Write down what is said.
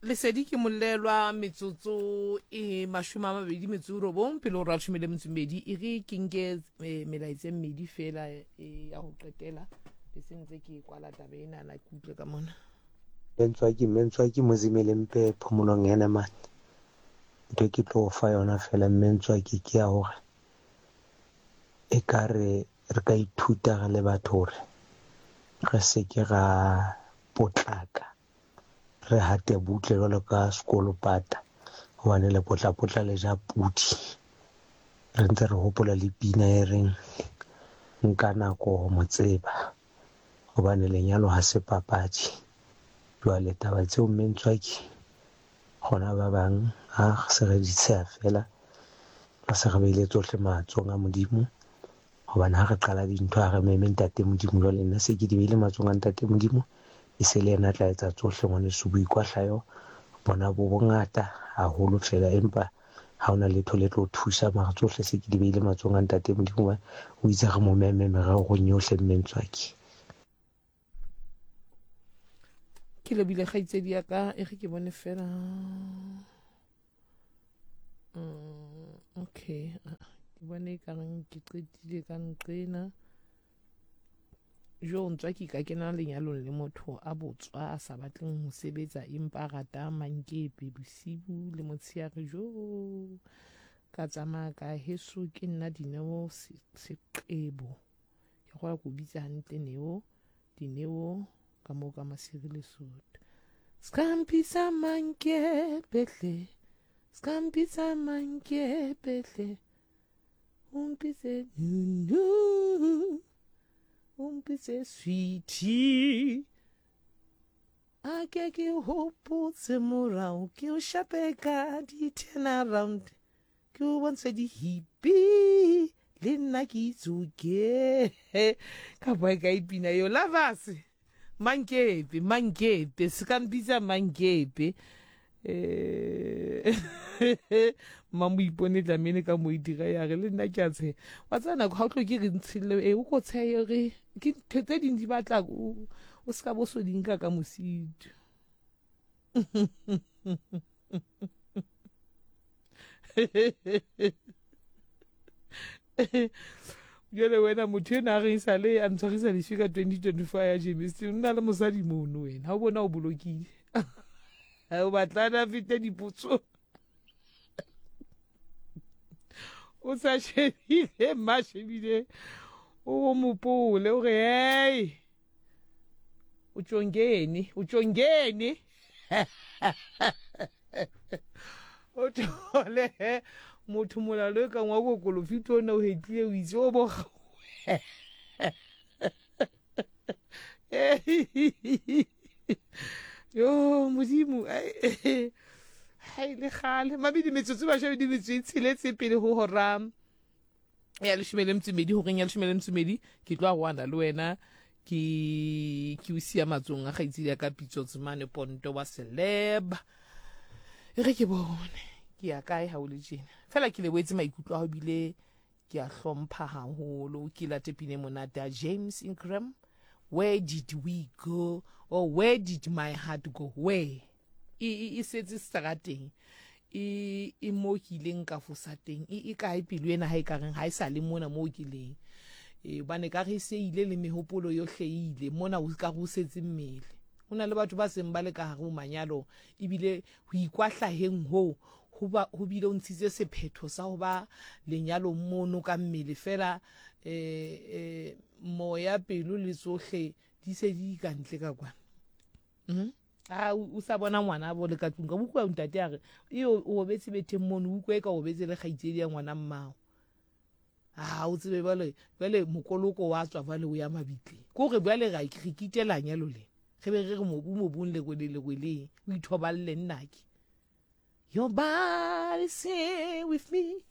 Lesedi ke molelwa metsotso e 29 pele go ra 18. E re ke nke eh, melaetsa e mmedi fela eh, ya go qetela be se ntse ke kwala taba enana ke utlwe ka mona. Mentswaki Mentswaki Mozimele mpe phomolong ena mane. Ntho e ke tlo o fa yona fela mme Ntswaki ke ya hore ekare re ka ithuta re le batho hore re se ke ra potlaka re hate butle jwalo ka sekolopata hobane lepotlapotla le ja pudi. Re ntse re hopola le pina e reng nka nako ho mo tseba hobane lenyalo ha se papadi. Jwale taba tseo mme Ntswaki rona ba bang ha se re di tsheha feela re se re beile tsohle matsohong a Modimo. Hobane ha re qala dintho ha re meme Ntate Modimo. Jwale nna se ke di beile matsohong a Ntate Modimo, e se le yena a tla etsa tsohle. Ngwaneso, boikwahlayo bona bo bongata haholo feela, empa ha hona letho le tlo thusa. Mara tsohle se ke di beile matsohong a Ntate Modimo hobane o itse re mo meme mererong yohle Mme Ntswaki. Ke lebile kgaitsedi ya ka e re ke bone fela. Okay, ke bone e kareng ke qetile ka nqena. Jo ntswa ke ka kena lenyalong le motho a botswa a sa batleng ho sebetsa empa a rata mankepe bosibu le motshehare. Jo ka tsamaya ka heso ke nna Dineo Seqebo. Ke gola ko bitsa hantle Neo, Dineo ka moo ka Masiri Lesotho. Skampisa mankepehle, skampisa mankepehle, o mpitse nunu, o mpitse sweetie. A ke ke hopotse morao, ke o shape ka di-turnaround. Ke o bontshe dihipi le nna ke itsoke ka boe ka ipina yo lovers mankepe mankepe se ka mpitsa mankepe eh mmamoipone tlamene ka mo e dira ya re le nna ke a tsheha wa tseba nako ga o tlo ke re ntshille e o ko tshehe re ke ntho tse ding di batla o se ka bo so di nka ka mosito. Jale wena motho ena a reng sale a ntshwarisa leswi ka 2024 ya Jamestown, o na le mosadi mono wena, ha o bona o bolokile o batlana fete dipotso o sa shebile mma shebile o mopole o re hey o tšongene o tšongene o thole motho molalo e kang wa kokolofito o ne o hetlile o itse o boga yo modimo ga e le gale mabedi metsotso bashabedi metso e tsheletse pele go hora ya leshome le metsomedi goreng ya leshome le metsomedi ke tlo a goana le wena ke ke o sia matsong a gaitsedi ya ka pitso tsemane ponto wa celeb e re ke bone ke ya kae ga o le tjena fela ke leboetse maikutlo a go bile ke a hlompha haholo. Ke late pine monate ya James Ingram, Where Did We Go, or Where Did My Heart Go? Where e e e setse strateng e e mo ke ileng ka fosa teng e e kae pelo ena ha e ka reng ha e sa le mona moo ke leng e bane ka re se ile le mehopolo yohle e ile mona o ka re o setse mmele. Ho na le batho ba seng ba le ka hare ho manyalo ebile ho ikwahlaheng hoo ho ba ho bile o ntshitse sephetho sa ho ba lenyalong mono ka mmele fela eh, eh, moya pelo le tsohle di se di ka ntle ka kwana. Mm? A o sa bona ngwana bo le ka tlung ka bukwa ntate a re e o obetse betheng mono o utlwe ka obetse le kgaitsedi ya ngwana mmao. A o tsebe bjale bjale mokoloko wa tswa bjale o ya mabitleng. Ko re bjale ga re kitela nyalo le. Re be re re mobu mobung lerwele lerweleng o ithoballe nnake. Your body say with me.